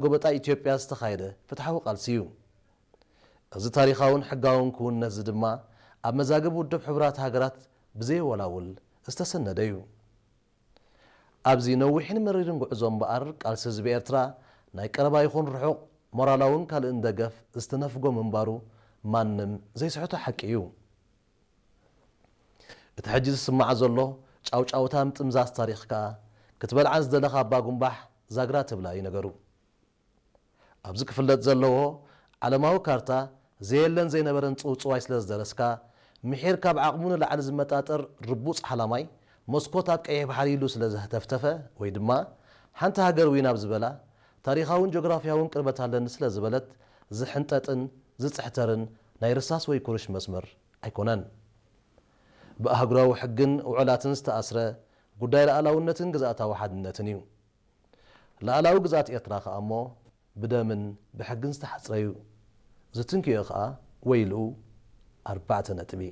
ጎበጣ ኢትዮጵያ ዝተኻየደ ፍትሓዊ ቃልሲ እዩ። እዚ ታሪኻውን ሕጋውን ክውንነት እዚ ድማ ኣብ መዛግብ ውድብ ሕቡራት ሃገራት ብዘየወላውል ዝተሰነደ እዩ። ኣብዚ ነዊሕን መሪርን ጉዕዞ እምበኣር ቃልሲ ህዝቢ ኤርትራ ናይ ቀረባ ይኹን ርሑቕ ሞራላውን ካልእን ደገፍ ዝተነፍጎ ምንባሩ ማንም ዘይስሕቶ ሓቂ እዩ። እቲ ሕጂ ዝስማዕ ዘሎ ጫውጫውታ ምጥምዛዝ ታሪኽ ከኣ ክትበልዓ ዝደለኻ ኣባ ጉንባሕ ዛግራ ትብላ እዩ ነገሩ። ኣብዚ ክፍለጥ ዘለዎ ዓለማዊ ካርታ ዘየለን ዘይነበረን ጽውጽዋይ ስለ ዝደረስካ፣ ምሒር ካብ ዓቕሙ ንላዕሊ ዝመጣጠር ርቡጽ ሓላማይ መስኮት ኣብ ቀይሕ ባሕሪ ኢሉ ስለ ዘህተፍተፈ ወይ ድማ ሓንቲ ሃገር ዊን ኣብ ዝበላ ታሪኻውን ጂኦግራፊያውን ቅርበት ኣለኒ ስለ ዝበለት ዝሕንጠጥን ዝጽሕተርን ናይ ርሳስ ወይ ኩርሽ መስመር ኣይኮነን። ብኣህጉራዊ ሕግን ውዕላትን ዝተኣስረ ጉዳይ ሉዓላውነትን ግዝኣታዊ ሓድነትን እዩ። ሉዓላዊ ግዝኣት ኤርትራ ከኣ እሞ ብደምን ብሕግን ዝተሓጽረ እዩ። ዝትንክዮ ከኣ ወይልኡ ኣርባዕተ ነጥቢ።